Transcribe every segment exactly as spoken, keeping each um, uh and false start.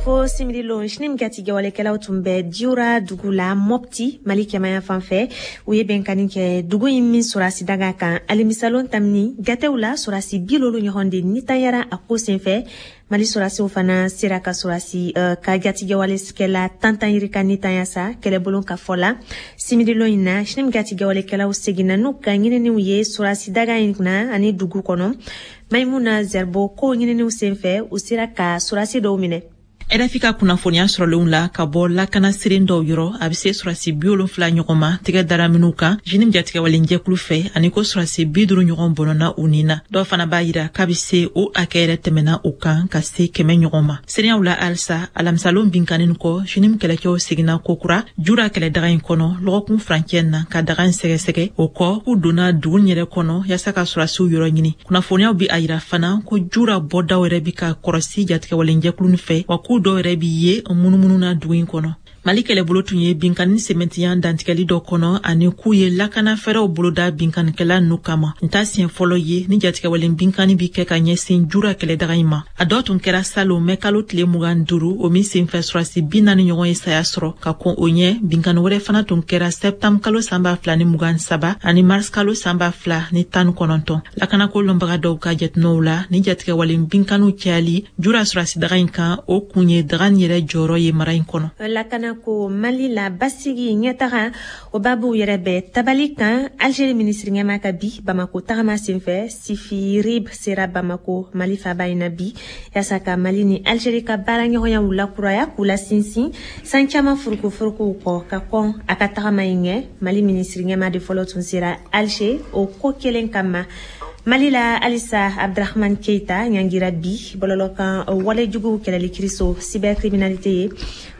Fo simirilon JNIM jatigɛwalekɛlaw tun bɛ Diora dugu la Mopti, Mali kɛmaya fan fɛ. U ye bɛnkanni kɛ dugu in min sɔrɔsi daga kan alamisalon tamini. Jatew la, sɔrɔsi bi lolu ɲɔgɔn de nitanyara a ko senfɛ. Mali sɔrɔsiw fana sera ka sɔrɔsi uh, ka jatigɛwalekɛla tantan yirika nitanya sa. Kɛlɛbolo ka fɔ la, simirilon in na, JNIM jatigɛwalekɛlaw seginna n'u ka ɲininiw ye sɔrɔsi daga in na ani dugu kɔnɔ. Maimuna Zerbo ko ɲininiw senfɛ, u sera ka sɔrɔsi dɔw minɛ. R F I ka kunnafoniya sɔrɔlenw la ka bɔ lakana siren dɔw yɔrɔ, a be se sɔrɔsi bi wolonfila ɲɔgɔn ma tɛgɛ dara minw kan JNIM jatigɛwalenjɛkulu fɛ, ani ko sɔrɔsi bi duru ɲɔgɔn bɔnɔna u nin na. Dɔw fana b'a yira k'a be se o hakɛ yɛrɛ tɛmɛna o kan ka se kɛmɛ ɲɔgɔn ma. Seereyaw la halisa, alamisalon binkannin kɔ, JNIM kɛlɛcɛw seginna kokura Jura kɛlɛdaga in kɔnɔ lɔgɔkun furancɛ na ka daga in sɛgɛsɛgɛ. O kɔ, k'u donna dugu yɛrɛ kɔnɔ yaasa ka sɔrɔsiw yɔrɔ ɲini. Kunnafoniyaw bi a yira fana ko Jura bɔdaw yɛrɛ bi ka kɔrɔsi jatigɛwalenjɛkulu fɛ, wa k'u dɔw yɛrɛ bi ye munumunu na dugu in kɔnɔ. Mali kɛlɛbolo tun ye binkanni sɛmɛntiya dantigɛli dɔ kɔnɔ, ani k'u ye lakana fɛɛrɛw boloda binkannikɛla nu kama. N ta siɲɛ fɔlɔ ye ni jatigɛwalen binkanni bi kɛ ka ɲɛsin Jura kɛlɛdaga in ma. A dɔ tun kɛra salon mɛ kalo tile mugan duuru, o min senfɛ sɔrɔsi bi naani ɲɔgɔn ye saya sɔrɔ. Ka kɔn o ɲɛ, binkanni wɛrɛ fana tun kɛra sɛptanburu kalo san ba fila ni mugan saba ani mars kalo san ba fila ni tan ni kɔnɔntɔn. Lakanako lɔnbaga dɔw ka jateminɛw la, ni jatigɛwalen binkanniw cayali Jura sɔrɔsi daga in kan, o kun ye daga nin yɛrɛ jɔyɔrɔ ye mara in kɔnɔ. Lakana ko, Mali la basigi ɲɛtaga, o babuw yɛrɛ bɛ tabali kan Algérie minisiri ɲɛma ka bi Bamako tagama senfɛ. Sifi Rib sera Bamako, Mali faba in na bi, yaasa ka Mali ni Algérie ka baara ɲɔgɔnyaw lakuraya k'u la sinsin san caman furukufurukuw kɔ. Ka kɔn a ka tagama in ɲɛ, Mali minisiri ɲɛma de fɔlɔ tun sera Alger o ko kelen kama. Mali la halisa, Abdrahman Keita ɲangira bi bɔlɔlɔ kan walejuguw kɛlɛli kiriso, cybercriminalité ye.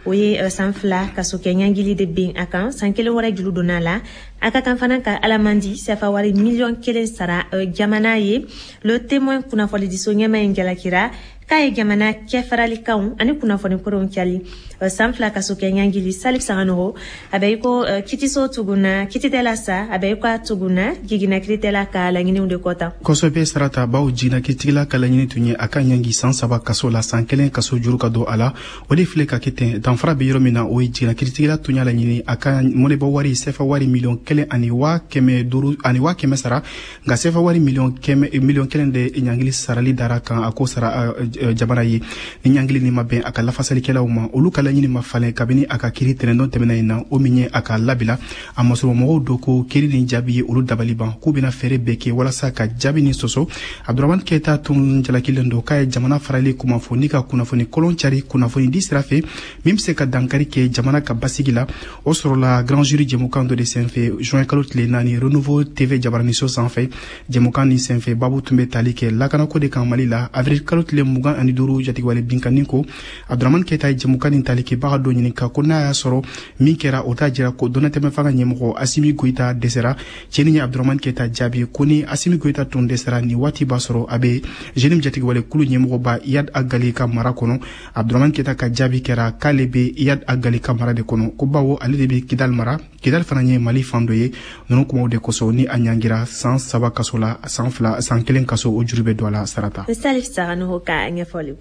O ye san fila kaso kɛ ɲangili de ben a kan, san kelen wɛrɛ juru donna la. A ka kan fana ka alamandi sefa wari miliyɔn kelen sara jamana ye. Le Témoin kunnafonidiso ɲɛma in jalakira k'a ye jamana cɛfaralikanw ani kunnafoni koronw cali. San fila kaso kɛ ɲangili, Salif Saganogo, a bɛ i ko kitiso tuguna kititɛla sa, a bɛ i ko a tuguna jiginna kiritɛla ka laɲiniw de kɔ tan. Kosɛbɛ, Sarata, baw jiginna kiritigɛla ka laɲini tun ye a ka ɲangi san saba kaso la, san kelen kaso juru ka don a la. O de filɛ ka kɛ ten. Danfara bɛ yɔrɔ min na, o ye jiginna kiritigɛla tun y'a laɲini a ka mɔnɛbɔ wari sefa wari miliyɔn kelen ani waa kɛmɛ duuru ani waa kɛmɛ sara, nka sefa wari miliyɔn kɛmɛ miliyɔn kelen de ɲangili sarali dara kan, a ko sara jamana ye. Ni ɲangili nin ma bɛn a ka lafasalikɛlaw ma, olu ka laɲini ma falen kabini a ka kiri tɛnɛndon tɛmɛna in na, o min ye a ka labila. A masɔrɔmɔgɔw dɔ ko kiri nin jaabi ye olu dabali ban, k'u bɛna fɛɛrɛ bɛɛ kɛ walasa ka jaabi nin sɔsɔ. Abdurahman Keyita tun jalakilen don k'a ye jamana farali kuma fɔ ni ka kunnafoni kolon cari kunnafoni di sira fɛ min bɛ se ka dankari kɛ jamana ka basigi la. O sɔrɔla Grand Jury jɛmukan dɔ de senfɛ juin kalo tile naani, Renouveau T V jabaraniso sanfɛ. Jɛmukan nin senfɛ, babu tun bɛ tali kɛ lakanako de kan Mali la. Avril kalo tile mugan ani duuru, jatigɛwale binkanni ko, Abdurahman Keyita ye jɛmukan nin tali kɛbaga dɔ ɲininka ko n'a y'a sɔrɔ min kɛra, o t'a jira ko dɔnnatɛmɛ fanga ɲɛmɔgɔ Asimi Goyita dɛsɛra. Cɛnin ye Abdurahman Keyita jaabi ko ni Asimi Goyita tun dɛsɛra nin waati, b'a sɔrɔ a bɛ JNIM jatigɛwale kulu ɲɛmɔgɔba Iyad Agali ka mara kɔnɔ. Abdurahman Keyita ka jaabi kɛra k'ale bɛ Iyad Agali ka mara de kɔnɔ, ko bawo ale de bɛ Kidal mara, Kidal fana ye Mali fan dɔ ye. Ninnu kumaw de kosɔn ni a ɲangira san saba kaso la, san fila, san kelen kaso o juru bɛ don a la, Sarata. Salif Saganogo ka ɲɛfɔli.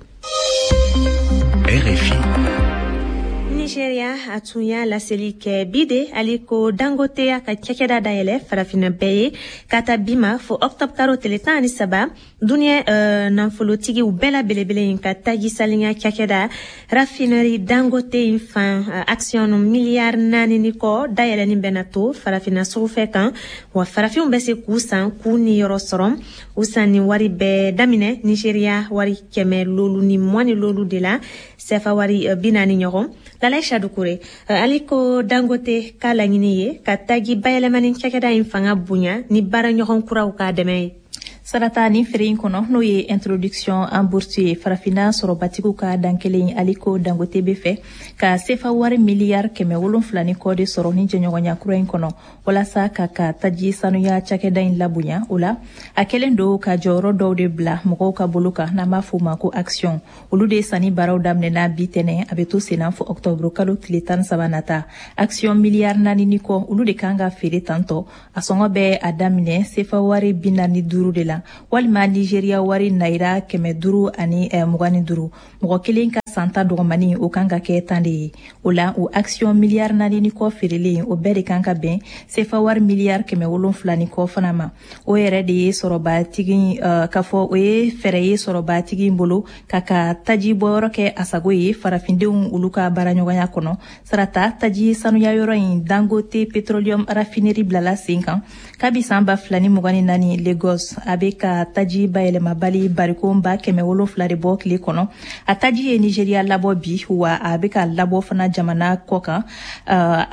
R F I. Nigeria, a tun y'a laseli kɛ bi de Aliko Dangote y'a ka cakɛda dayɛlɛ Farafinna bɛɛ ye ka ta bi ma fo octobre karo tile tan ani saba. Duniɲɛ uh, nafolotigiw bɛɛ la belebele in ka taji saliya cakɛda, raffinerie Dangote in fan, uh, action miliyari naani ni kɔ dayɛlɛni bɛna to Farafinna sugufɛ kan, wa farafinw bɛ se k'u san k'u niyɔrɔ sɔrɔ. U san ni wari bɛɛ daminɛ Nigeria wari kɛmɛ lolu ni mugan ni lolu de la, sɛfa wari uh, bi naani ɲɔgɔn. Lalayi Dukure, Aliko Dangote ka laɲini ye ka taji bayɛlɛmani cakɛda in fanga bonya ni baaraɲɔgɔn kuraw k'a dɛmɛ ye. Sarata, ni feere in kɔnɔ, n'o ye introduction en bourse ye, Farafinna sɔrɔbatigiw ka dan kelen, Aliko Dangote bɛ fɛ ka sefa wari miliyari kɛmɛ wolonfila ni kɔ de sɔrɔ ni jɛɲɔgɔnya kura in kɔnɔ walasa ka ka taji sanuya cakɛda in labonya. O la, a kɛlen don ka jɔyɔrɔ dɔw de bila mɔgɔw ka bolo kan, n'an b'a fɔ o ma ko action. Olu de sanni baaraw daminɛna bi tɛnɛ, a bɛ to senna fɔ octobre kalo tile tan saba nata. Action miliyari naani ni kɔ, olu de kan ka feere tantɔ. A sɔngɔ bɛ a daminɛ sefa wari bi naani duuru de la, walima Nigeria wari naira kɛmɛ duuru ani mugan ni duuru mɔgɔ kelen ka. Santa dɔgɔmani o kan ka kɛ tan de ye. O la, o action miliyari naani ni kɔ feerelen, o bɛɛ de kan ka bɛn sefa wari miliyari kɛmɛ wolonfila ni kɔ fana ma. O yɛrɛ de ye sɔrɔbatigi uh, k'a fɔ o ye fɛɛrɛ ye sɔrɔbatigi bolo ka ka taji bɔyɔrɔ kɛ a sago ye farafindenw olu ka baaraɲɔgɔnya kɔnɔ. Sarata, taji sanuya yɔrɔ in, Dangote Petroleum Raffinerie, bilala sen kan kabi san ba fila ni mugan ni naani Lagos. A bɛ ka taji bayɛlɛmabali barikon ba kɛmɛ wolonfila de bɔ tile kɔnɔ. A taji ye Nigeria labɔ bi, wa a bɛ ka labɔ fana jamana kɔ kan. uh,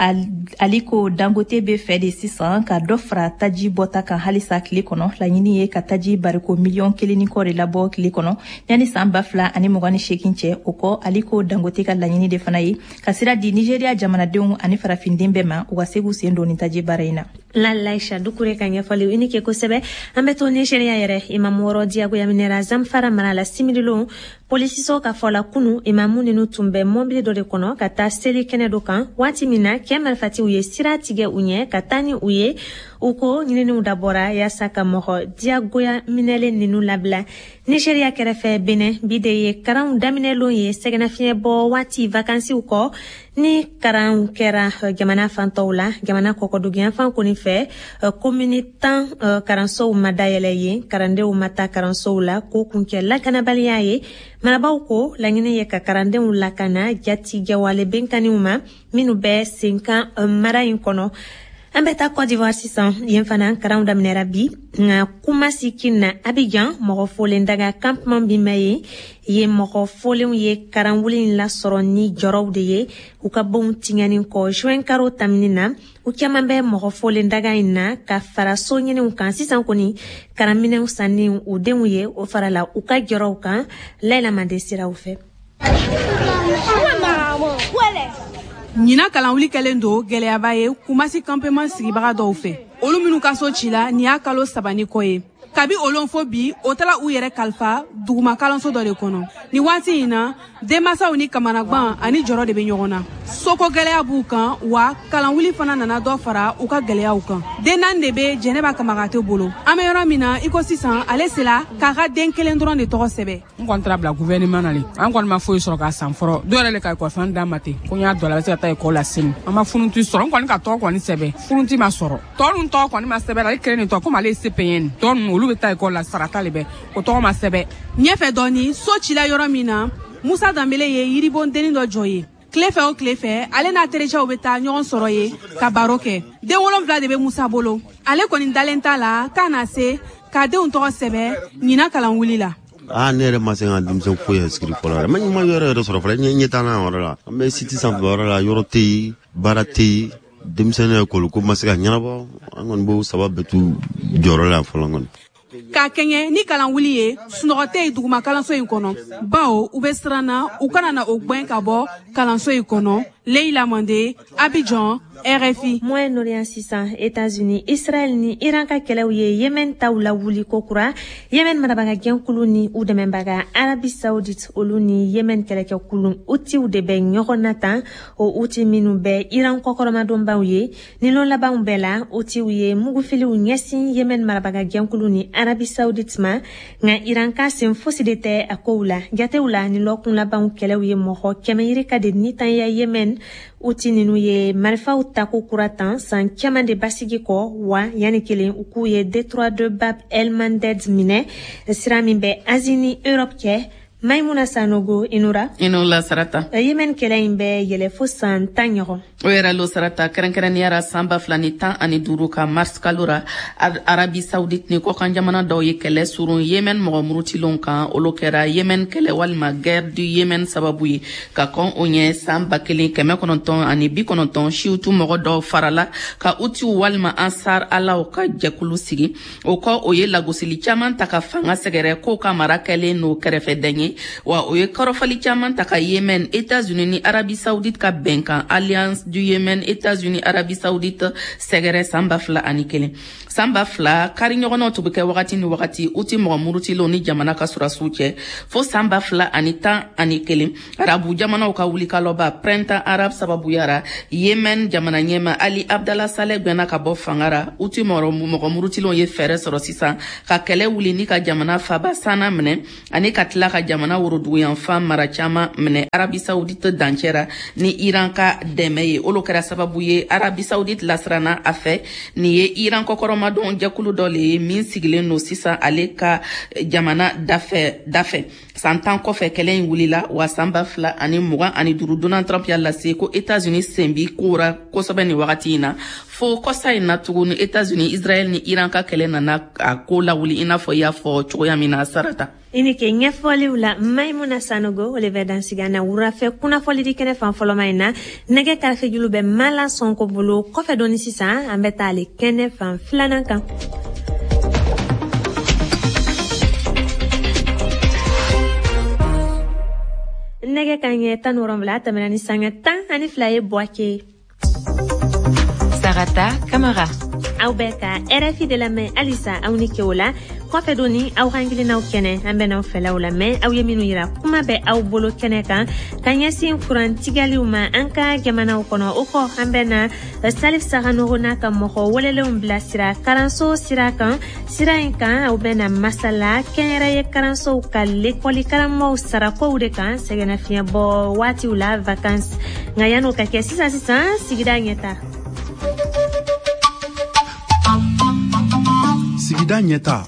Aliko Dangote bɛ fɛ de sisan ka dɔ fara taji bɔta kan halisa tile kɔnɔ. Laɲini ye ka taji bariko miliyɔn kelen ni kɔ de labɔ tile kɔnɔ yanni san ba fila ani mugan ni seegin cɛ. O kɔ, Aliko Dangote ka laɲini de fana ye ka sira di Nigeria jamanadenw ani farafinden bɛɛ ma, u ka se k'u sen don ni taji baara in na. Lalaisha Dukure ka ɲɛfɔli, i ni ke kosɛbɛ. An bɛ to Nigeriya yɛrɛ. Imamu wɔrɔ diyagoya minɛra Zamfara mara la simirilon. Polisiso ka fɔ la, kunu imamu ninu tun bɛ mɔbili dɔ de kɔnɔ ka taa seli kɛnɛ dɔ kan waati min na kɛ marifatiw ye sira tigɛ u ɲɛ ka taa ni u ye. U ko ɲininiw dabɔra yaasa ka mɔgɔ diyagoya minɛlen ninu labila. Nigeriya kɛrɛfɛ, Benin, bi de ye karanw daminɛlon ye sɛgɛnnafiɲɛ bɔ waati vakansiw kɔ. Ni karanw kɛra jamana fantɔw la, jamana kɔkɔduguyanfan kɔni fɛ, komini tan karansow ma dayɛlɛ yen, karandenw ma taa karansow la k'o kun kɛ lakanabaliya ye. Marabaw ko laɲini ye ka karandenw lakana jatigɛwale benkanniw ma minnu bɛ senkan mara in kɔnɔ. An bɛ taa Cote d'Ivoire sisan. Yen fana karanw daminɛra bi, nka Kumasi kin na Abidjan, mɔgɔ folen daga campement min bɛ yen, yen mɔgɔ folenw ye karanwuli in lasɔrɔ ni jɔrɔw de ye u ka bonw tiɲɛni kɔ juin karo tamini na. U caman bɛ mɔgɔ folen daga in na ka fara so ɲiniw kan. Sisan kɔni, karanminɛw sanni u denw ye, o farala u ka jɔrɔw kan. Layila Mande siraw fɛ. Ɲinan kalanwuli kɛlen don gwɛlɛyaba ye Kumasi campement sigibaga dɔw fɛ, olu minnu ka so ci la nin y'a kalo saba ni kɔ ye. Kabi olon fo bi, o tala u yɛrɛ kalifa duguma kalanso dɔ de kɔnɔ. Ni waati in na, denmasaw ni kamanagwan ani jɔrɔ de bɛ ɲɔgɔn na. Soko gwɛlɛya b'u kan, wa kalanwuli fana nana dɔ fara u ka gwɛlɛyaw kan. Den naani de bɛ Jɛnɛba Kamagate bolo. An bɛ yɔrɔ min na i ko sisan, ale sela k'a ka den kelen dɔrɔn de tɔgɔ sɛbɛ. N kɔni taara bila gouvernement na le. An kɔni ma foyi sɔrɔ k'a san fɔlɔ. Dɔw yɛrɛ le ka ekɔli d'a ma ten ko n y'a dɔn la, a bɛ se ka taa ekɔli la sini. An ma fourniture sɔrɔ. N kɔni ka tɔgɔ kɔni sɛbɛ, fourniture ma sɔrɔ. Tɔ ninnu tɔgɔ kɔni ma sɛbɛ la, ale kelen de tɔgɔ, komi ale ye C P N. Tɔ ninnu, olu bɛ taa ekɔli la, sarata le bɛ o tɔgɔ ma sɛbɛ. Ɲɛfɛ dɔɔni, so cila yɔrɔ min na, Musa Danbele ye yiribondenni dɔ jɔ ye. Tile fɛ o tile fɛ, ale n'a tericɛw bɛ taa ɲɔgɔn sɔrɔ ye ka baro kɛ. Den wolonfila de bɛ Musa bolo. Ale kɔni dalen t'a la k'a na se k'a denw tɔgɔ sɛbɛ ɲinan kalanwuli la. Aa, ne yɛrɛ ma se ka denmisɛn foyi inscrit fɔlɔ yɛrɛ. Ma yɔrɔ yɛrɛ sɔrɔ fɔlɔ, ɲɛ t'an na yɔrɔ la. An bɛ site sanfɛ yɔrɔ la, yɔrɔ tɛ yen, baara tɛ yen, denmisɛnnin ekɔli ko ma se ka ɲɛnabɔ. An kɔni b'o saba bɛɛ t'u jɔyɔrɔ la fɔlɔ kɔni. K'a kɛɲɛ ni kalanwuli ye, sunɔgɔ tɛ yen duguma kalanso in kɔnɔ, bawo u bɛ siran na u kana na o gwɛn ka bɔ kalanso in kɔnɔ. Leila Mande, Abidjan, R F I. Moyen-Orient sisan, États-Unis, Israël ni Iran ka kɛlɛw ye Yemen taw lawuli kokura. Yemen marabaga jɛnkulu ni u dɛmɛbaga Arabie Saoudite, olu ni Yemen kɛlɛkɛkulu Houthis de bɛ ɲɔgɔn na tan, o Houthi minnu bɛ Iran kɔkɔrɔmadonbaw ye. Ni lon labanw bɛɛ la, Houthis ye mugufiliw ɲɛsin Yemen marabaga jɛnkulu ni Arabie Saoudite ma, nka Iran ka sen fosi de tɛ a kow la. Jatew la, ni lɔkun labanw kɛlɛw ye mɔgɔ kɛmɛ yirika de nitanya Yemen. Houthi ninnu ye marifaw tako kura tan san caman de basigi kɔ, wa yanni kelen u k'u ye détroit de Bab El Mandeb minɛ, sira min bɛ Asie ni Europe cɛ. Maimuna Sanogo, inura. Inola, Sarata. Yemen kɛlɛ in bɛ yɛlɛ fo san tan ɲɔgɔn. O yɛrɛ lo, Sarata. Kɛrɛnkɛrɛnnenya san ba fila ni tan ani duuru ka mars kalo ra, Arabi Saoudite ni kɔkan jamana dɔw ye kɛlɛ surun Yemen mɔgɔ murutilenw kan. Olu kɛra Yemen kɛlɛ walima guerre du Yemen sababu ye. Ka kɔn o ɲɛ, san ba kelen kɛmɛ kɔnɔntɔn ani bi kɔnɔntɔn, siwtu mɔgɔ dɔw farala ka Houthis walima Ansar Alaw ka jɛkulu sigi. O kɔ, o ye lagosili caman ta ka fanga sɛgɛrɛ k'o ka mara kɛlen n'o kɛrɛfɛdɛn ye, wa o ye kɔrɔfɔli caman ta ka Yemen, États-Unis ni Arabie Saoudite ka bɛnkan Alliance du Yemen États-Unis Arabie Saoudite sɛgɛrɛ san ba fila ani kelen. San ba fila, kari ɲɔgɔnnaw tun bɛ kɛ wagati ni wagati Houthi mɔgɔ murutilenw ni jamana ka sɔrɔdasiw cɛ, fo san ba fila ani tan ani kelen, arabu jamanaw ka wulikalɔba Printemps arabe sababuyara, Yemen jamana ɲɛma Ali Abdallah Saleh gwɛnna ka bɔ fanga ra. Houthi mɔgɔ murutilenw ye fɛɛrɛ sɔrɔ sisan ka kɛlɛ wuli ni ka jamana faba Sana minɛ ani ka tila ka jamana jamana woroduguyanfan mara caman minɛ Arabie Saoudite dancɛ ra ni Iran ka dɛmɛ ye. Olu kɛra sababu ye Arabie Saoudite lasiranna a fɛ. Nin ye Iran kɔkɔrɔmadon jɛkulu dɔ le ye min sigilen don sisan ale ka jamana dafɛ dafɛ. San tan kɔfɛ kɛlɛ in wulila, wa san ba fila ani mugan ani duuru Donald Trump y'a lase ko États-Unis sen bi ko ra kosɛbɛ nin wagati in na. Fo kɔsa in na tuguni, États-Unis, Israël ni Iran ka kɛlɛ nana a ko lawuli, i n'a fɔ i y'a fɔ cogoya min na, Sarata. I ni ke ɲɛfɔliw la, Maimuna Sanogo. O le bɛ dansigi an na wurafɛ kunnafɔli kɛnɛ fan fɔlɔma in na. Nɛgɛ karafejulu bɛ Mala Sɔnko bolo. Kɔfɛ dɔɔni sisan, an bɛ taa ale kɛnɛ fan filanan kan. Nɛgɛ ka ɲɛ tan ni wɔrɔnwula tɛmɛna ni sanga tan ani fila ye Buwake. Sarata Kamara. Aw bɛ ka R F I de lamɛn halisa. Aw ni ke o la. Kɔfɛ doni, aw hakilinaw kɛnɛ, an bɛ n'aw fɛlaw lamɛn. Aw ye minnu yira, kuma bɛ aw bolo kɛnɛ kan ka ɲɛsin kurantigɛliw ma an ka jamanaw kɔnɔ. O kɔ, an bɛ na Salif Saganogo n'a ka mɔgɔ welelenw bilasira karanso sira kan. Sira in kan, aw bɛ na masala kɛnyɛrɛye karansow ka lekɔli karamɔgɔw sarakow de kan sɛgɛnnafiɲɛbɔ waatiw la, vacances. Nka yan'o ka kɛ, sisan sisan, sigida ɲɛta. Sigida ɲɛta.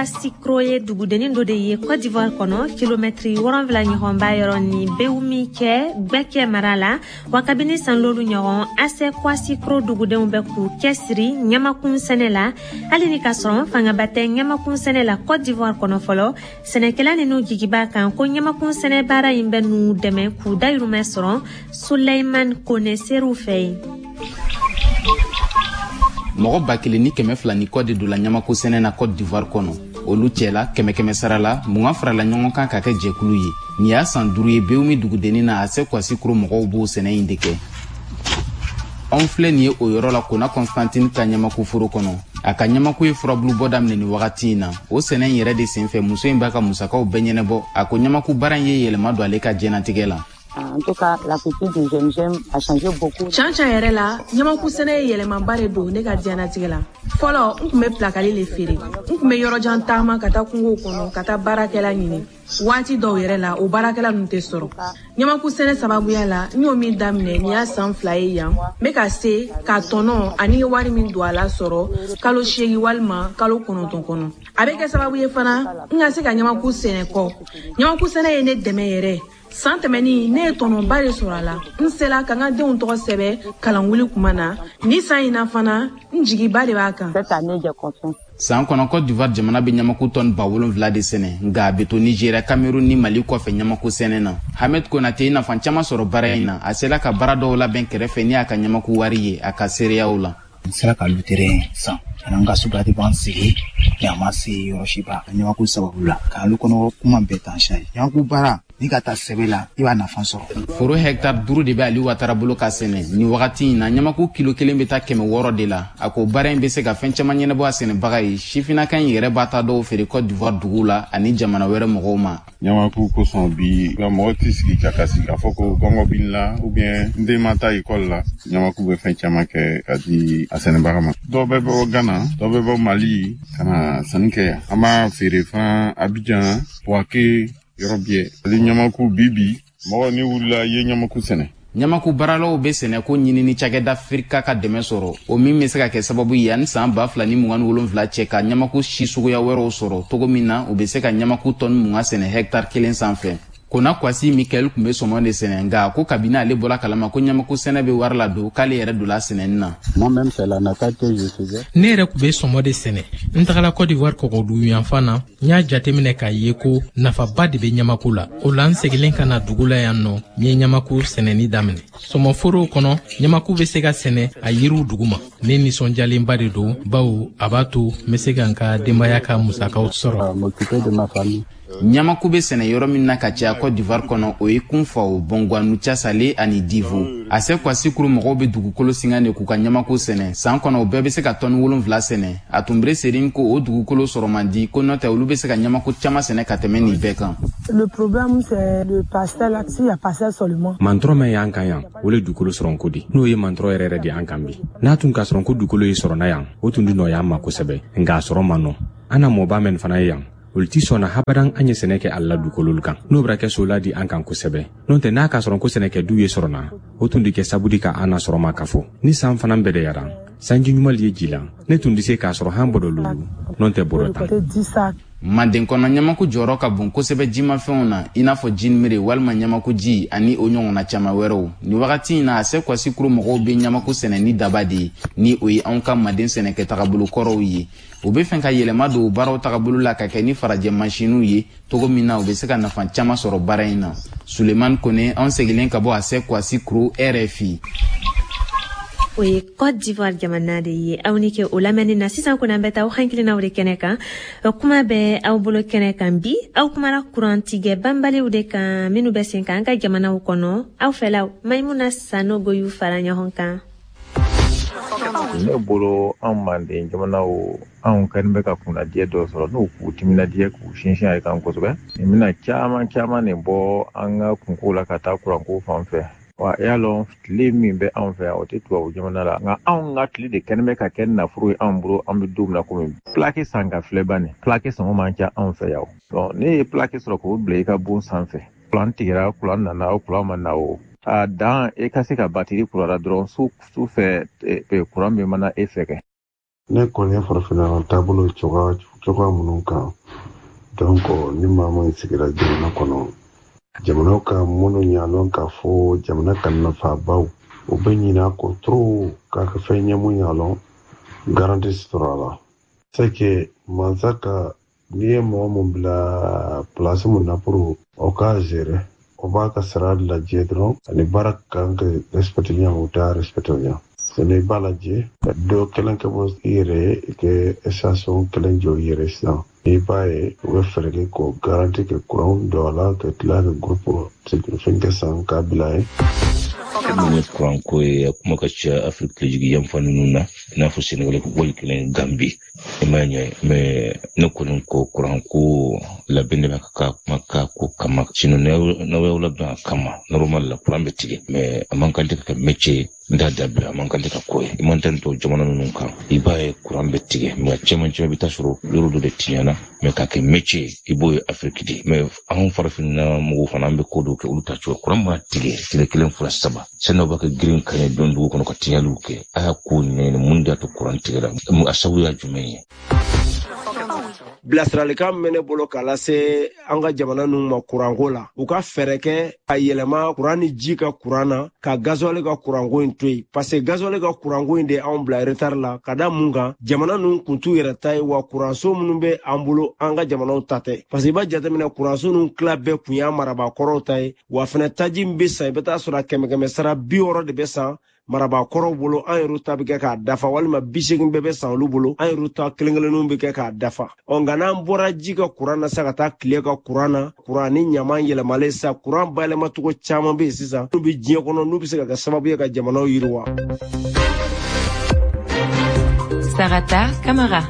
Sikro ye dugudennin dɔ de ye Côte d'Ivoire kɔnɔ, kilomɛtiri wɔrɔnfila ɲɔgɔn b'a yɔrɔ ni Bewumi cɛ, Gbɛkɛ mara la. Wa kabini san lolu ɲɔgɔn, Ase Kwasikro dugudenw bɛ k'u cɛsiri ɲamakun sɛnɛ la. Hali ni ka sɔrɔ fangaba tɛ ɲamakun sɛnɛ la Côte d'Ivoire kɔnɔ fɔlɔ, sɛnɛkɛla ninnu jigi b'a kan ko ɲamakun sɛnɛ baara in bɛ n'u dɛmɛ k'u dayirimɛ sɔrɔ. Suleiman Kone ser'u fɛ yen. Mɔgɔ ba kelen ni kɛmɛ fila ni kɔ de donna ɲamako sɛnɛ na Côte d'Ivoire kɔnɔ. Olu cɛla, kɛmɛ kɛmɛ sara la, mugan farala ɲɔgɔn kan ka kɛ jɛkulu ye. Nin y'a san duuru ye Bewumi dugudennin na, Ase Kwasikuro mɔgɔw b'o sɛnɛ in de kɛ. Anw filɛ nin ye o yɔrɔ la, Kona Constantine ka ɲamako foro kɔnɔ. A ka ɲamako ye furabulu bɔ daminɛ nin wagati in na. O sɛnɛ in yɛrɛ de senfɛ, muso in b'a ka musakaw bɛɛ ɲɛnɛbɔ. A ko ɲamako baara in ye yɛlɛma don ale ka diɲɛnatigɛ la. En tout cas, la culture du G M G M a changé beaucoup. Can can yɛrɛ la, ɲamaku sɛnɛ ye yɛlɛmaba de don ne ka diɲɛnatigɛ la. Fɔlɔ, n kun bɛ pilakali le feere. N kun bɛ yɔrɔjan taama ka taa kungow kɔnɔ ka taa baarakɛla ɲini. Waati dɔw yɛrɛ la, o baarakɛla ninnu tɛ sɔrɔ. Ɲamaku sɛnɛ sababuya la, n y'o min daminɛ nin y'a san fila ye yan, n bɛ ka se ka tɔnɔ ani wari min don a la sɔrɔ kalo seegin walima kalo kɔnɔntɔn kɔnɔ. A bɛ kɛ sababu ye fana n ka se ka ɲamaku sɛnɛ kɔ. Ɲamaku sɛnɛ ye ne dɛmɛ yɛrɛ. San tɛmɛnin, ne ye tɔnɔba de sɔrɔ a la. N sela ka n ka denw tɔgɔ sɛbɛ kalanwuli kuma na. Ni san in na fana, n jigiba de b'a kan. San kɔnɔ, Côte d'Ivoire jamana bɛ ɲamaku tɔni ba wolonfila de sɛnɛ, nka a bɛ to Nigéria, Cameroun ni Mali kɔfɛ ɲamaku sɛnɛ na. Hamed Konate ye nafa caman sɔrɔ baara in na. A sela ka baara dɔw labɛn kɛrɛfɛ ni a ka ɲamaku wari ye, a ka seereyaw la. N sera ka lutere san ani n ka sobilati sigi mais a ma se yɔrɔ si ba ɲamaku sababu la k'alu kɔnɔ kuma bɛɛ tan siya ye. Ɲamaku baara ni ka taa sɛbɛ la, i b'a nafa sɔrɔ. Foro hɛkitari duuru de bɛ Ali Watara bolo ka sɛnɛ nin wagati in na. Ɲamaku kilo kelen bɛ taa kɛmɛ wɔɔrɔ de la. A ko baara in bɛ se ka fɛn caman ɲɛnabɔ a sɛnɛbaga ye. Sifinnaka in yɛrɛ b'a ta dɔw feere Côte d'Ivoire duguw la ani jamana wɛrɛ mɔgɔw ma. Ɲamaku kosɔn bi nka mɔgɔ tɛ sigi ka kasi k'a fɔ ko kɔngɔ b'i la ou bien n den ma taa ekɔli la. Ɲamaku bɛ fɛn caman kɛ ka di a sɛnɛbaga ma. Dɔw bɛ bɔ Ghana, dɔw bɛ bɔ Mali ka na sanni kɛ yan. An b'a feere fana Abidjan, Bouaké, yɔrɔ bɛɛ. Ale ɲamaku bi bi, mɔgɔ ni wulila i ye ɲamaku sɛnɛ. Ɲamaku baaralaw bɛ sɛnɛko ɲinini cakɛda Firika ka dɛmɛ sɔrɔ, o min bɛ se ka kɛ sababu ye yanni san ba fila ni mugan ni wolonfila cɛ ka ɲamaku si suguya wɛrɛw sɔrɔ, cogo min na u bɛ se ka ɲamaku tɔni mugan sɛnɛ hɛkitari kelen sanfɛ. Kona Kwasi Mikael tun bɛ sɔmɔ de sɛnɛ, nka ko kabini ale bɔra kalama ko ɲamaku sɛnɛ bɛ wari la don, k'ale yɛrɛ donna sɛnɛni na. Ne yɛrɛ tun bɛ sɔmɔ de sɛnɛ. N tagala Côte d'Ivoire kɔgɔdugu yanfan na, n y'a jateminɛ k'a ye ko nafaba de bɛ ɲamaku la. O la, n seginnen ka na dugu la yan nɔ, n ye ɲamaku sɛnɛni daminɛ. Sɔmɔforow kɔnɔ, ɲamaku bɛ se ka sɛnɛ a yiriw duguma. Ne nisɔndiyalenba de don, bawo a b'a to n bɛ se ka n ka denbaya ka musakaw sɔrɔ. Ɲamaku bɛ sɛnɛ yɔrɔ min na ka caya Côte d'Ivoire kɔnɔ, o ye Kunfawo, Bɔnguwanu, Casale ani Divo. Ase Kwasikuru mɔgɔw bɛ dugukolo singa de k'u ka ɲamaku sɛnɛ. San kɔnɔ, u bɛɛ bɛ se ka tɔni wolonfila sɛnɛ. A tunbere serin ko o dugukolo sɔrɔ man di, ko n'o tɛ olu bɛ se ka ɲamaku caman sɛnɛ ka tɛmɛ nin bɛɛ kan. Le problème, c'est le parcelle. S'il y a parcelle seulement. Mantɔrɔ min y'an kan yan, o le dugukolo sɔrɔnko di. N'o ye mantɔrɔ yɛrɛ yɛrɛ de an kan bi. N'a tun ka sɔrɔ ko dugukolo ye sɔrɔ na yan, o tun di nɔgɔya an ma kosɛbɛ, nka a sɔrɔ man nɔ. An na mɔba mɛn fana ye yan, olu ti sɔnna habadan an ye sɛnɛ kɛ a la dugukololu kan. N'o bɛra kɛ sola di an kan kosɛbɛ. N'o tɛ, n'a k'a sɔrɔ ko sɛnɛkɛ du ye sɔrɔ na, o tun di kɛ sabudi ka an na sɔrɔ ma ka fɔ ni san fana bɛdɛyara, sanji ɲuman ye ji la, ne tun tɛ se k'a sɔrɔ han bɔdɔ lulu, n'o tɛ bɔrɔ tan. Manden kɔnɔ, ɲamaku jɔyɔrɔ ka bon kosɛbɛ jimafɛnw na, i n'a fɔ jinimere walima ɲamaku ji ani o ɲɔgɔnna caman wɛrɛw. Nin wagati in na, a se Kwasikuro mɔgɔw bɛ ɲamaku sɛnɛ ni daba de ye, ni o ye anw ka manden sɛnɛkɛ tagabolo kɔrɔw ye. U bɛ fɛ ka yɛlɛma don baaraw tagabolo la ka kɛ ni farajɛ masiniw ye cogo min na, u bɛ se ka nafa caman sɔrɔ baara in na. Sulemani Kone, anw seginnen ka bɔ a se Kwasikuro, R F I. O ye Cote d'Ivoire jamana de ye. Aw ni ke o lamɛnni na. Sisan kɔni, an bɛ taa aw hakilinaw de kɛnɛ kan. Kuma bɛ aw bolo kɛnɛ kan bi. Aw kumara kurantigɛ banbaliw de kan minnu bɛ sen kan an ka jamanaw kɔnɔ. Aw fɛlaw, Maimuna Sanogo y'u fara ɲɔgɔn kan. Ne bolo, anw manden jamanaw, anw kɛlen bɛ ka kunnadiya dɔ sɔrɔ, n'u k'u timinadiya k'u sinsin a kan kosɛbɛ. Nin bɛna caman caman de bɔ an ka kunko la ka taa kuranko fan fɛ. Wa i y'a lɔn, tile min bɛ anw fɛ yan, o tɛ tubabu jamana la, nka anw ka tile de kɛlen bɛ ka kɛ nafolo ye anw bolo. An bɛ don min na komi plaque san ka filɛ ban nin plaque sɔngɔ man ca anw fɛ yan o. Ne ye plaque sɔrɔ k'o bila i ka bon sanfɛ, kuran tigɛra, kuran nana o, kuran ma na o, a dan e ka se ka batiri kurara dɔrɔn su su fɛ, kuran bɛ mana e fɛ kɛ. Ne kɔni ye farafinna taabolo cogoya cogoya minnu kan, donc ni maa min sigira jamana kɔnɔ, jamana ka minnu ɲa k'a fɔ jamana ka nafabaw, u bɛ ɲinɛ a kɔ trop k'a kɛ fɛn ɲɛ mun ɲa garantie sɔrɔ a la. C'est que mansa ka n'i ye mɔgɔ mun bila place mun na pour o k'a gérer, o b'a ka sara lajɛ dɔrɔn ani baara kan ka respecter ɲa, o t'a respecter ɲa. Sɛnɛ i b'a lajɛ ka dɔ kelen kɛ bɔ i yɛrɛ ye, i kɛ station kelen jɔ i yɛrɛ sisan, i b'a ye u bɛ fɛɛrɛ kɛ k'o garantie kɛ kuran don a la, ka tila ka groupe fɛn kɛ san k'a bila yen. Min ye kuranko ye, a kuma ka ca Afiriki tilejigi yanfan ninnu na, i n'a fɔ Senegali, wali kelen Gambi, i m'a ɲɛ. Mɛ ne kɔni ko kuranko labɛn de bɛ ka ka kuma ka ko kama, sinon n'aw y'aw labɛn a kama, normal la kuran bɛ tigɛ, mɛ a man kan tɛ ka kɛ métier ye. N t'a dabila, a man kan tɛ ka ko ye. I man tɛ to jamana ninnu kan, i b'a ye kuran bɛ tigɛ, mɛ caman caman bɛ taa sɔrɔ yɔrɔ dɔ de tiɲɛna, mɛ k'a kɛ métier, i b'o ye Afiriki de. Mɛ anw farafinna mɔgɔw fana, an bɛ ko dɔw kɛ olu ta cogo. Kuran mana tigɛ tile kelen, fila, saba, sani aw b'a kɛ girin ka ɲɛ don dugu kɔnɔ ka tiɲɛliw kɛ, a y'a ko ɲɛɲini mun de y'a to kuran tigɛra, a sababu y'a jumɛn ye. Bilasiralikan min bɛ ne bolo k'a lase an ka jamana ninnu ma kuranko la, u ka fɛɛrɛ kɛ ka yɛlɛma kuran ni ji ka kuran na, ka gasoil ka kuranko in to yen, parce que gasoil ka kuranko in de anw bila retard la. Ka da mun kan? Jamana ninnu kun t'u yɛrɛ ta ye wa. Kuranso minnu bɛ an bolo, an ka jamanaw ta tɛ, parce que i b'a jateminɛ, kuranso ninnu tila bɛɛ kun y'an marabaa ta ye wa. Fɛnɛ taji min bɛ san, i bɛ taa sɔrɔ a kɛmɛ kɛmɛ sara bi wɔɔrɔ de bɛ san marabaakɔrɔw bolo, an yɛrɛ ta bɛ kɛ k'a dafa, walima bi seegin bɛɛ bɛ san olu bolo, an yɛrɛ ta kelen kelenninw bɛ kɛ k'a dafa. Ɔ nka n'an bɔra ji ka kuran na sa ka taa tile ka kuran na, kuran ni ɲaman yɛlɛmalen sa, kuran bayɛlɛmacogo caman bɛ yen sisan n'u bɛ diɲɛ kɔnɔ, n'u bɛ se ka kɛ sababu ye ka jamanaw yiriwa. Sarata Kamara.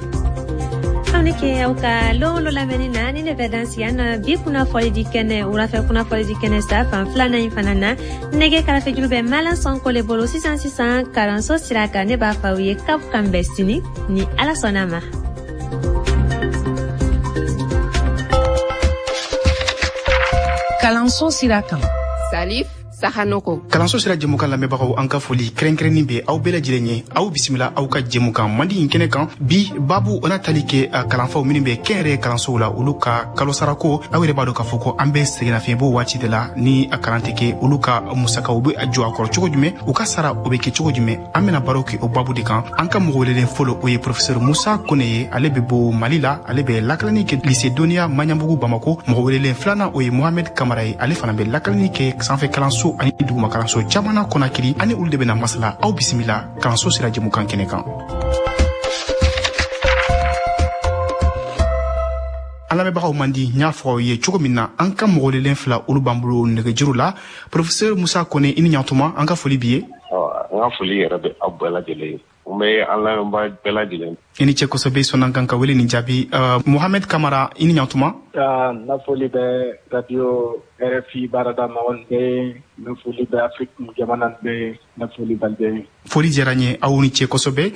Aw ni ke aw ka lon lo lamɛnni na. Ni ne bɛ dan sigi an na bi kunnafɔli di kɛnɛ, wulafɛ kunnafɔli di kɛnɛ sa fan filanan in fana na. Nɛgɛ karafejuru bɛ Malan Sɔnko le bolo sisan sisan kalanso sira kan. Ne b'a fɔ aw ye k'aw kan bɛn sini ni Ala sɔnna ma. Kalanso sira kan. Salif Sahanoko. Kalanso sira jɛmukan lamɛnbagaw, an ka foli kɛrɛnkɛrɛnnin bɛ aw bɛɛ lajɛlen ye. Aw bisimila aw ka jɛmukan mandi in kɛnɛ kan. Bi babu, o n'a tali kɛ kalanfaw minnu bɛ kɛnyɛrɛye kalansow la, olu ka kalosarako. Aw yɛrɛ b'a dɔn k'a fɔ ko an bɛ sɛgɛnnafiɲɛbɔ waati de la ni a kalan tɛ kɛ. Olu ka musakaw bɛ jɔ a kɔrɔ cogo jumɛn? U ka sara o bɛ kɛ cogo jumɛn? An bɛna baro kɛ o babu de kan. An ka mɔgɔ welelen fɔlɔ, o ye professeur Musa Kone ye, ale bɛ bɔ Mali la, ale bɛ lakalani kɛ lycée Dɔnniya Maɲanbugu Bamako. Mɔgɔ welelen filanan, o ye Mohamed Kamara ye, ale fana bɛ lakalani kɛ sanfɛ kalanso ani duguma kalanso caman na Kɔnakiri. Ani olu de bɛna masala. Aw bisimila kalanso sira jɛmukan kɛnɛ kan. An lamɛnbagaw man di, n y'a fɔ aw ye cogo min na, an ka mɔgɔlelen fila, olu b'an bolo nɛgɛjuru la. Professeur Musa Kone, i ni ɲantuma, an ka foli b'i ye. N ka foli yɛrɛ bɛ aw bɛɛ lajɛlen ye, n bɛ an lamɛnbaa bɛɛ lajɛlen. I ni cɛ kosɛbɛ, sɔnna kan ka wele nin jaabi. uh, Mohamed Kamara, i ni ɲantuma. N ka foli bɛ radio R F I baarada mɔgɔw bɛɛ ye, n bɛ foli bɛ Afrique jamana bɛɛ ye, n bɛ foli b'aw bɛɛ ye. Foli diyara n ye, aw ni ce kosɛbɛ.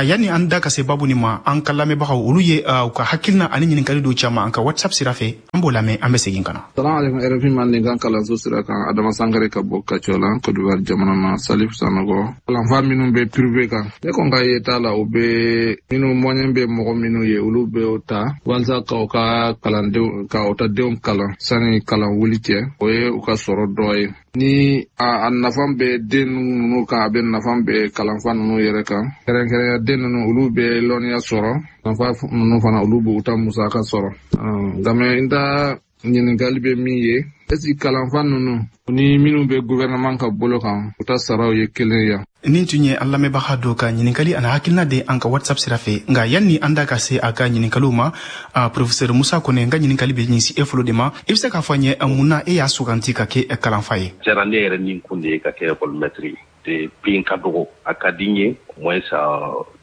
Yanni an da ka se babu nin ma, an ka lamɛnbagaw olu ye u ka hakilina ani ɲininkali dɔw caman an ka WhatsApp sira fɛ, an b'o lamɛn, an bɛ segin ka na. Salamu alaikum, R F I Mandenkan kalanso sira kan, Adama Sankare ka bɔ Kacɔla, Côte d'Ivoire jamana na, Salif Sanogo. Kalanfa minnu bɛ privé kan, ne kɔni ka yeta la, o bɛ minnu moyen bɛ mɔgɔ minnu ye, olu bɛ o ta walasa k'aw ka kalandenw k'aw ta denw kalan sani kalan wuli cɛ, o ye u ka sɔrɔ dɔ ye. Ni a, a nafa bɛ den ninnu kan, a bɛ nafa bɛ kalanfa ninnu yɛrɛ kan. Kɛrɛnkɛrɛnya den ninnu, olu bɛ lɔnniya sɔrɔ, kalanfa ninnu fana olu b'u ta musaka sɔrɔ. Nka mɛ n ta ɲininkali bɛ min ye, est-ce que kalanfa ninnu ni minnu bɛ gouvernement ka bolo kan, u ta saraw ye kelen ye? Nin tun ye an lamɛnbaga dɔ ka ɲininkali ani hakilina de an ka WhatsApp sira fɛ. Nka yanni an da ka se a ka ɲininkaliw ma, professeur Musa Kone, n ka ɲininkali bɛ ɲɛsin e fɔlɔ de ma. I bɛ se k'a fɔ an ye mun na e y'a suganti ka kɛ kalanfa ye? Diyara ne yɛrɛ ni kun de ye ka kɛ école maître ye. Depuis n ka dɔgɔ, a ka di n ye au moins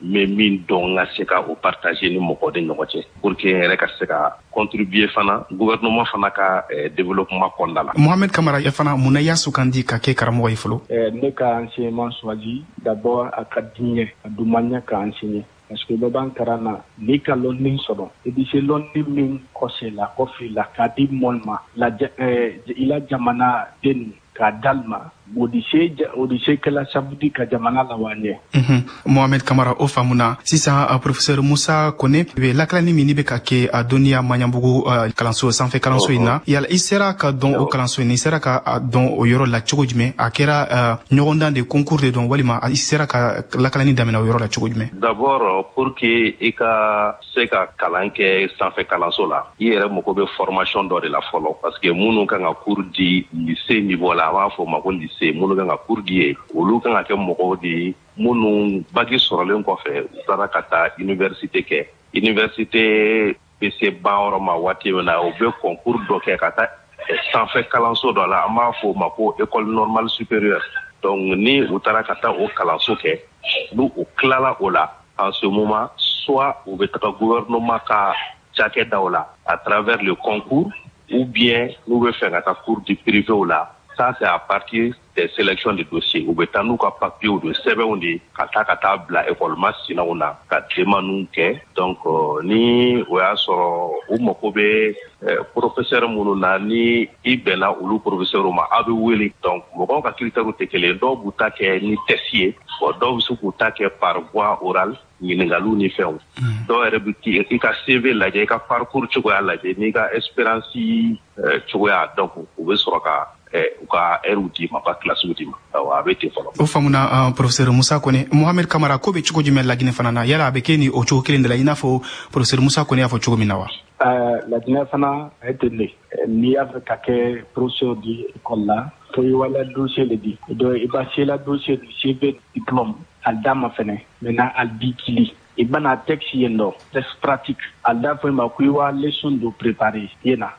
n bɛ min dɔn, n ka se ka o partager ni mɔgɔw de ɲɔgɔn cɛ pour que n yɛrɛ ka se ka contribuer fana gouvernement fana ka développement kɔnɔna la. Mohamed Kamara, e fana mun na i y'a sugandi ka kɛ karamɔgɔ ye fɔlɔ? Ne ka enseignement choisi d'abord, a ka di n ye, a dun man ɲɛ ka enseigner. Parce que bɛɛ b'an karan na, n'i ka lɔnni sɔrɔ, i bɛ se lɔnni min kɔsɛ la kɔfɛ la k'a di mɔli ma la, i la jamana den k'a d'al ma, o di se o di se kɛla sababu di ka jamana lawa ɲɛ. Mohamed Kamara, o faamuna. Sisan professeur Musa Kone, bɛ lakalani min bɛ ka kɛ a dɔnniya Maɲanbugu kalanso sanfɛ kalanso in na, yala i sera ka dɔn o kalanso in, i sera ka dɔn o yɔrɔ la cogo jumɛn? A kɛra ɲɔgɔndan de, concours de dɔn, walima i sera ka lakalani daminɛ o yɔrɔ la cogo jumɛn? D'abord, pour que i ka se ka kalan kɛ sanfɛ kalanso la, i yɛrɛ mago bɛ formation dɔ de la fɔlɔ, parce que minnu kan ka cours di lycée niveau la, an b'a fɔ o ma ko lycée, minnu kan ka cours di ye, olu kan ka kɛ mɔgɔw de ye minnu bac sɔrɔlen kɔfɛ, u taara ka taa université kɛ. Université bɛ se ban yɔrɔ ma waati min na, u bɛ concours dɔ kɛ ka taa sanfɛ kalanso dɔ la, an b'a fɔ o ma ko école normale supérieure. Donc ni u taara ka taa o kalanso kɛ, n'u u tilala o la, en ce moment, soit u bɛ taga gouvernement ka cakɛdaw la à travers le concours, ou bien n'u bɛ fɛ ka taa cours du privé la, ça c'est à partir des sélections de dossiers. U bɛ taa n'u ka papiers de sɛbɛnw de ka taa ka taa bila école masinaw na ka demandes kɛ. Donc ni o y'a sɔrɔ u mako bɛ professeur minnu na, ni i bɛnna olu professeur ma, aw bɛ wele. Donc mɔgɔw ka critères tɛ kelen, dɔw b'u ta kɛ ni test ye, bon dɔw bɛ se k'u ta kɛ par voie orale, ɲininkaliw ni fɛnw. Dɔw yɛrɛ bɛ i ka C V lajɛ, i ka parcours cogoya lajɛ, n'i ka expérience cogoya, donc u bɛ sɔrɔ ka u ka heure d'i ma, ka classe d'i ma. Awɔ, a bɛ ten fɔlɔ. O faamuna, professeur Musa Kone. Mohamed Kamara, ko bɛ cogo jumɛn Laginɛ fana na? Yala a bɛ kɛ ni o cogo kelen de la, i n'a fɔ professeur Musa Kone y'a fɔ cogo min na wa? Laginɛ fana a ye ten de. N'i y'a fɛ ka kɛ professeur di école la, fo i wala dossier le di. Donc i b'a se la dossier du C V, diplôme al d'a ma fɛnɛ. Maintenant al b'i kili. I bɛna texte yen dɔ, texte pratique. Al d'a fɔ i ma ko i wa leçon dɔ préparer yen na.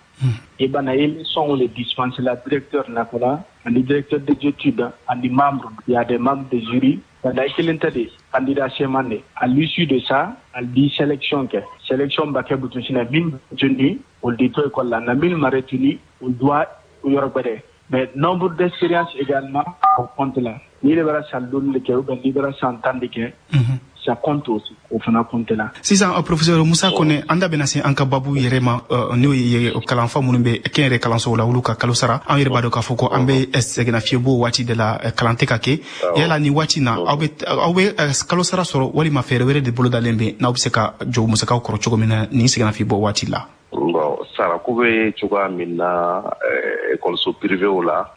I bana i leçon le dispense la directeur nakola, ani directeur des études, ani membre, il y a des membres de jury. Kada kelen tɛ de, candidat sɛman de. À l'issue de ça, al di sélection kɛ. Sélection ba kɛ butunsinɛ min retenu, olu di to école la, na min ma retenu, olu doit yɔrɔ gbɛdɛ. Mais nombre d'expérience également au compte la. N'i de bɛra san duuru de kɛ ou bien n'i bɛra san tan de kɛ, ça compte aussi, o fana compte la. Sisan professeur Musa Kone, an da bɛna se an ka babu yɛrɛ ma, n'o ye kalanfa minnu bɛ kɛnyɛrɛ kalansow la, olu ka kalo sara. An yɛrɛ b'a dɔn k'a fɔ ko an bɛ sɛgɛnnafiɲɛbɔ waati de la, kalan tɛ ka kɛ. Yala ni waati na, aw bɛ aw bɛ kalo sara sɔrɔ, walima fɛɛrɛ wɛrɛ de bolodalen bɛ n'aw bɛ se ka jɔ musakaw kɔrɔ cogo min na nin sɛgɛnnafiɲɛbɔ waati la? Bon, sarako bɛ cogoya min na ekɔliso privéw la,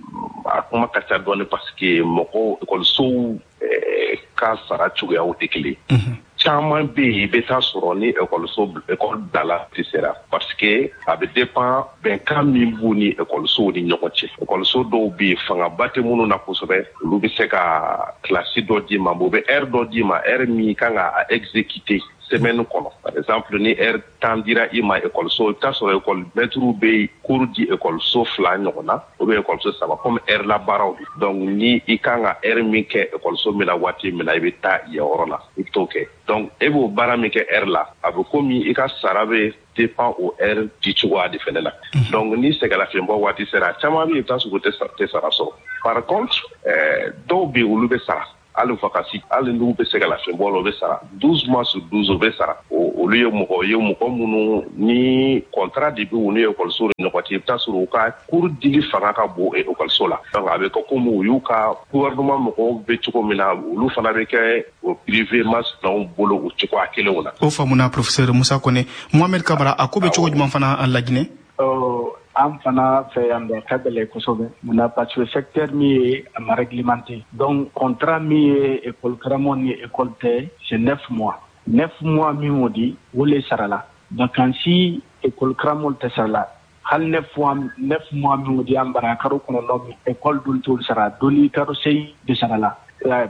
a kuma ka ca dɔɔni, parce que mɔgɔw ekɔlisow ka sara cogoyaw tɛ kelen. Caman bɛ yen, i bɛ taa sɔrɔ ni ekɔliso ekɔli bilala tɛ sera, parce que a bɛ dépend bɛnkan min b'u ni ekɔlisow ni ɲɔgɔn cɛ. Ekɔliso dɔw bɛ yen, fangaba tɛ minnu na kosɛbɛ, olu bɛ se ka kilasi dɔ d'i ma, u bɛ heure dɔ d'i ma, heure min kan ka exécuter. semaine kɔnɔ. Par exemple, ni heure tan dira i ma ekɔliso, i bɛ taa sɔrɔ ekɔli mɛtiriw bɛ cours di ekɔliso fila ɲɔgɔn na ou bien ekɔliso saba comme heure la baaraw don. Donc ni i kan ka heure min kɛ ekɔliso min na waati min na, i bɛ taa yen yɔrɔ la, i bɛ t'o kɛ. Donc e b'o baara min kɛ heure la, a bɛ komi i ka sara bɛ dépend o heure di cogoya de fɛnɛ la. Donc ni sɛgɛlafiɲɛbɔ waati sera, caman bɛ yen, i bɛ taa sɔrɔ u tɛ sara sɔrɔ. Par contre, dɔw bɛ yen, olu bɛ sara. Hali vacances, hali n'u bɛ sɛgɛlafiɲɛbɔ la, u bɛ sara douze mois sur douze, u bɛ sara. Olu ye mɔgɔ ye, mɔgɔ minnu ni contrat de bɛ u ni ekɔliso ni ɲɔgɔn cɛ, i bɛ taa sɔrɔ u ka cours dili fanga ka bon ekɔliso la. Donc a bɛ kɛ komi u y'u ka gouvernement mɔgɔw bɛ cogo min na, olu fana bɛ kɛ o privé masinaw bolo o cogoya kelenw na. O faamuna, professeur Musa Kone. Mohamed Kabara, a ko bɛ cogo jumɛn fana Laginɛ? An fana fɛ yan bɛ ka gɛlɛn kosɛbɛ munna, parce que secteur min ye a ma réglementé. Donc contrat min ye école karamɔgɔ ni école tɛ, c'est neuf mois. Neuf mois min o di, o le sarala. Vacances école karamɔgɔ tɛ sarala. Hali neuf mois, neuf mois min o di an bara karo kɔnɔntɔn min, école dun t'olu sara, doli karo seegin de sarala,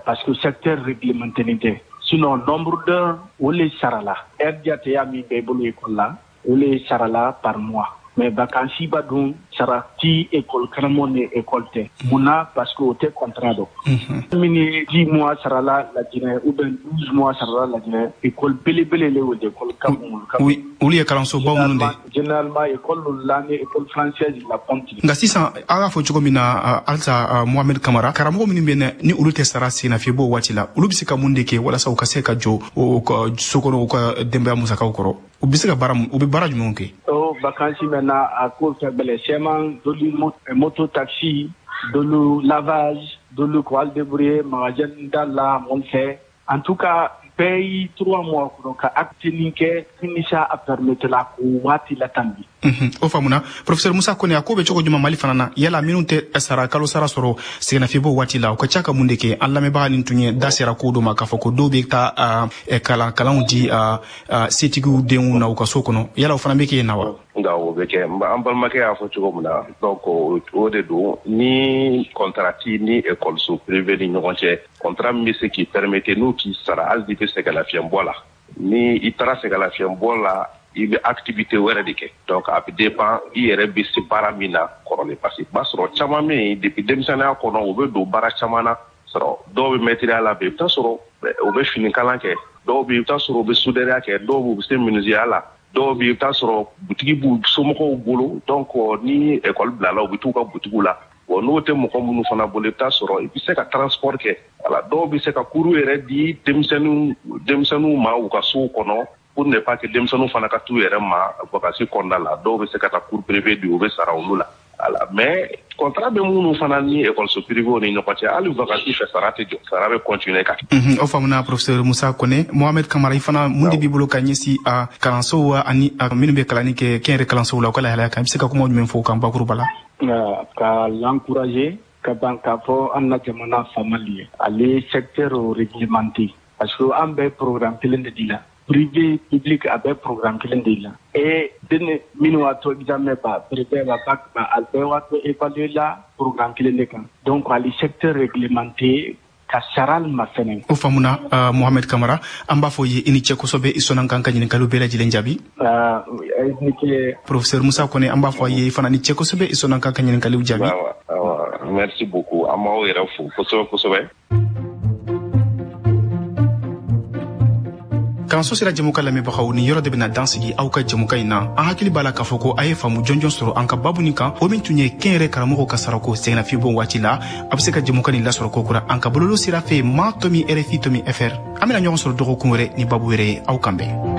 parce que secteur réglementé tɛ. Sinon nombre d'heures o le sarala. Heure jateya min bɛ i bolo école la, o le sarala par mois. Mais vacances ba dun sara ti école karamɔgɔ ni école tɛ. Munna? Parce que o tɛ contrat dɔn. Min ye dix mois sarala Laginɛ ou bien douze mois sarala Laginɛ, école belebele le o de, école ka bon. Oui, olu ye kalansobaw minnu de. Généralement école la ni école française la compte. Nka sisan a y'a fɔ cogo min na halisa, Mohamed Kamara, karamɔgɔ minnu bɛ na ni olu tɛ sara sennafiɲɛbɔ waati la, olu bɛ se ka mun de kɛ walasa u ka se ka jɔ u ka so kɔnɔ, u ka denbaya musakaw kɔrɔ? U bɛ se ka baara, u bɛ baara jumɛnw kɛ? O vacances maintenant a ko ka gɛlɛn. Sɛman dolu moto taxi, dolu lavage, dolu ko al débrouiller magasin da la mɔn fɛ. En tout cas bɛɛ y'i trois mois kɔnɔ ka acte nin kɛ nimisa a permettre la k'o waati latanbi. O faamuna, professeur Musa Kone. A ko bɛ cogo jumɛn Mali fana na? Yala minnu tɛ sara kalo sara sɔrɔ sɛgɛnnafiɲɛbɔ waati la, u ka ca ka mun de kɛ? An lamɛnbaga nin tun ye da sera ko dɔ ma k'a fɔ ko dɔw bɛ taa kalan kalanw di setigiw denw na u ka so kɔnɔ. Yala o fana bɛ kɛ yen na wa? Nka o bɛ kɛ, an balimakɛ y'a fɔ cogo min na, donc o de don. Ni contrat t'i ni ekɔliso privé ni ɲɔgɔn cɛ, contrat min bɛ se k'i permettre n'u k'i sara hali n'i bɛ sɛgɛnlafiɲɛbɔ la, ni i taara sɛgɛnlafiɲɛbɔ la, i bɛ activité wɛrɛ de kɛ. Donc a bɛ dépend i yɛrɛ bɛ se baara min na kɔrɔlen, parce que i b'a sɔrɔ caman bɛ yen, depuis denmisɛnninya kɔnɔ, u bɛ don baara caman na. Sɔrɔ dɔw bɛ mɛtiriya la bi, i bɛ taa sɔrɔ u bɛ finikalan kɛ, dɔw bɛ yen, i bɛ taa sɔrɔ u bɛ sudɛriya kɛ, dɔw bɛ u bɛ se menuisier la, dɔw bɛ yen, i bɛ taa sɔrɔ butigi b'u somɔgɔw bolo. Donc ni école bilala, u bɛ t'u ka butigiw la. Bon, n'o tɛ mɔgɔ minnu fana bolo, i bɛ taa sɔrɔ i bɛ se ka transport kɛ. Wala dɔw bɛ se ka cours yɛrɛ di denmisɛnninw denmisɛnninw ma u ka sow kɔnɔ, pour ne pas que denmisɛnninw fana ka t'u yɛrɛ ma vacances kɔnɔna la. Dɔw bɛ se ka taa cours privé di, u bɛ sara olu la. Voilà, mais contrat bɛ minnu fana ni ekɔliso privé ni ɲɔgɔn cɛ, hali vacances fɛ, sara tɛ jɔ, sara bɛ continuer ka kɛ. O faamuna, professeur Musa Kone. Mohamed Kamara, i fana, mun de b'i bolo ka ɲɛsin a kalansow ani a minnu bɛ kalanni kɛ kɛnyɛrɛ kalansow la, u ka lahalaya kan? I bɛ se ka kuma jumɛn fɔ o kan bakuruba la? Ka l'encourager ka ban k'a fɔ an na jamana faamali ye, ale secteur réglementé, parce que an bɛ programme kelen de di la, privé public a bɛ programme kelen de la. Et den minnu b'a to examen ba brevet ba bac ba, a bɛɛ b'a to évaluer la programme kelen de kan. Donc ale secteur réglementé ka sara ma fɛnɛ. O faamuna, uh, Mohamed Kamara, an b'a fɔ ye i ni cɛ kosɛbɛ, i sɔnna kan ka ɲininkaliw bɛɛ lajɛlen jaabi. uh, ni ce. Professeur Musa Kone, an b'a fɔ a ye i fana ni cɛ kosɛbɛ, i sɔnna kan ka ɲininkaliw jaabi. Merci beaucoup, an b'aw yɛrɛ fo kosɛbɛ kosɛbɛ. Kalanso sera jɛmukan lamɛnbagaw, ni yɔrɔ de bɛna dan sigi aw ka jɛmukan in na. An hakili b'a la k'a fɔ ko a ye faamu jɔnjɔn sɔrɔ an ka babu nin kan, o min tun ye kɛnyɛrɛ karamɔgɔw ka sarako sɛgɛnnafiɲɛbɔ waati la. A bɛ se ka jɛmukan nin lasɔrɔ kokura an ka bololo sira fɛ ma tomi R F I tomi F R. An bɛna ɲɔgɔn sɔrɔ dɔgɔkun wɛrɛ ni babu wɛrɛ ye. Aw kan bɛn.